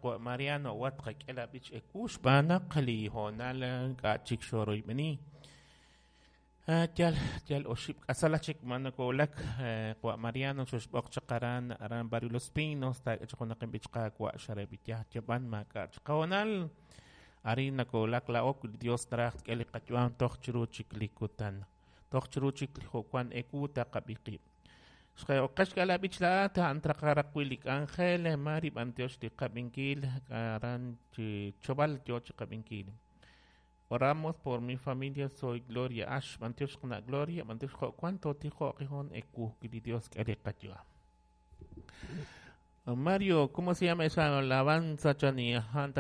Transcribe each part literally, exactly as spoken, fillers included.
Qawa' Mariano wat qak'e la b'ich ewu xb'aan naq li hoonal ink'a' chik xoroyb'eni. Yal yal oxib' k'asal chik ma nakoolak Qawa' Mariano xoxb'oq chaq aran aran Barrio Los Pinos taak'e chaq junaq inb'ich Qaawa' xareb'iyaj yab'an maak'a' chaq hoonal arin nakoolak laa'o wi li Dios naraj tk'e li qayu'am toj chiru chik li kutan toj chiru chik li jo'wan ewu taqab'i qib'. Xqe'oqex k'a la b'ich laa'at a'an traqaraq wi' li k'anjel mari b'antiox li qab'inkil aran chi chob'al yo chi qab'inkil. Oramos por mi familia, soy Gloria Ash, b'antiox qna' Gloria, b'antiox jo'wan totijo'q jon ewu wi li Dios k'e li qayu'am. Mario, ¿cómo se llama esa alabanza chani a'an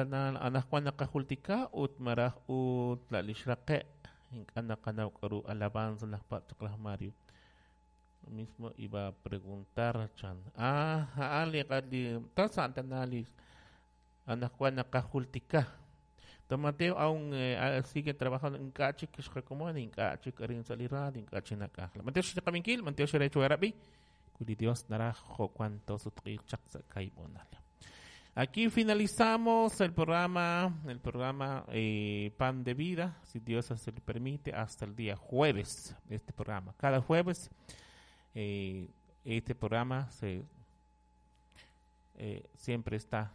anaqwan naqajultika ut maraj ut la li xraqe' ink'a' naqanaw k'aru alabanza najpa' chaq laj Mario. Lo mismo iba a preguntar chan. Ah, a'an li li tas a'an tana li anaqwan naqajultika. Don Mateo aún eh, sigue trabajando ink'a' chik xqakomon ink'a' chik arin sa' li radio ink'a' chik nak'ajla. Mateo xqaminkil, Mateo xerecho arabi. Wi li Dios naraj jo'wan tosutq'iiq chaq sa' kaib'onal. Aquí finalizamos el programa, el programa eh, Pan de Vida, si Dios así lo permite, hasta el día jueves, este programa. Cada jueves eh, este programa se eh, siempre está.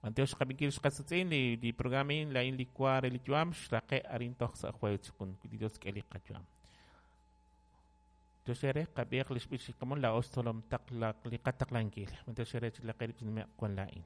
Mateo xqab'inkil xqasatz'in li li programa in la in licuar li yu'am xraqe' arin toj sa' jueves kun wi li Dios k'e li qayu'am. Toxere qab'iq li xb'ich kamon la ostolom taq la li qataqlankil. Mateo xere chi la qerib chi wan la'in.